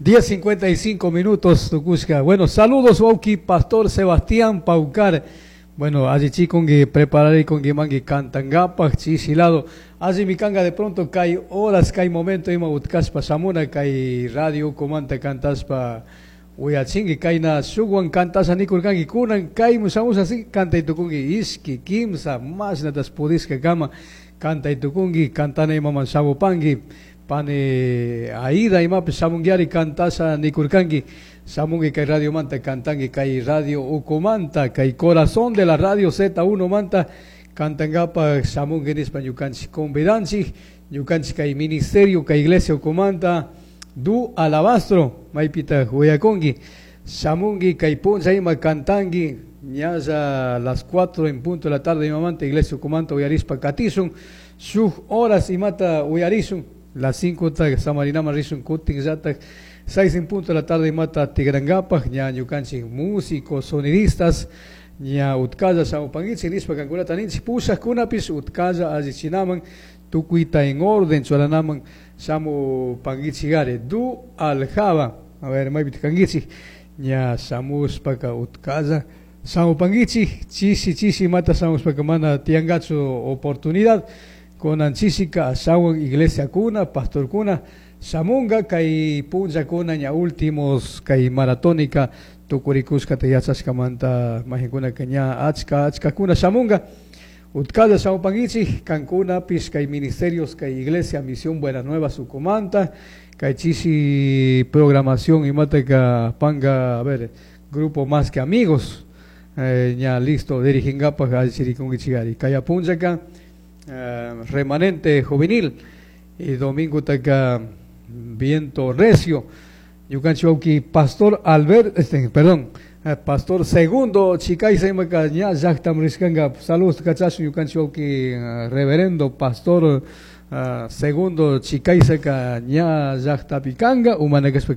10:55 minutos tukushka. Bueno, saludos wawki pastor Sebastián Paucar. Bueno, allichikunki prepararikunki manki kantankapaj chishi lado. Allimi kanga de pronto kay horas, kay momento ima utkashpa shamuna kay radio ukumanta kantashpa uyachinki kayna shukwan kantasha nikurkanki kunan kaymu shamusha así kantay tukunki ishki, kimsa, mashnatas pudishka kama kantay tukunki kantana imaman shamupanki pani Aida imapish shamunkiari kantasha nikurkanki shamunki kay radiomanta kantanki kay radio ukumanta kay corazón de la radio Z1 manta kantankapaj shamunki nishpa ñukanchik convidanchik ñukanchik kay ministerio kay iglesia ukumanta du alabastro maypita uyakunki shamunki kay punlla ima kantanki ñalla las 4 en punto de la tarde imamanta iglesia ukumanta uyarishpa katishun shuk horas imata uyarishun las 5 ta samarinaman rishun kutin llatak 6 en punto de la tarde imata tigrankapaj ña ñukanchik músicos sonidistas ña utkalla shamupankichik nishpa kankunata ninchik pushakkunapish utkalla allichinaman tukuyta en orden churanaman shamupankichikari du aljaba a ver maypita kankichik ña shamushpaka utkalla shamupankichik chishi chishi imata shamushpaka mana tiyankachu oportunidad kunan chishika ashawan iglesiakuna pastorkuna shamunga kay punllakuna ña últimos kay maratónica tukurikushkata yachashkamanta majikunaka ña achka achkakuna shamunga utkalla shamupankichik kankunapish kay ministerios kay iglesia misión Buenas Nuevas ukumanta kay chishi programación imataka panga a ver grupo Más que Amigos ña listo diriginkapaj allichirikunkichikari kaya punllaka remanente juvenil y domingo taka viento recio ñukanchik wawki pastor Albert perdón pastor segundo Chicaiza imaka ña llaktaman rishkanka saludos kachashun ñukanchik wawki reverendo pastor segundo Chicaizaka ña llaktapi kanka umana kashpa.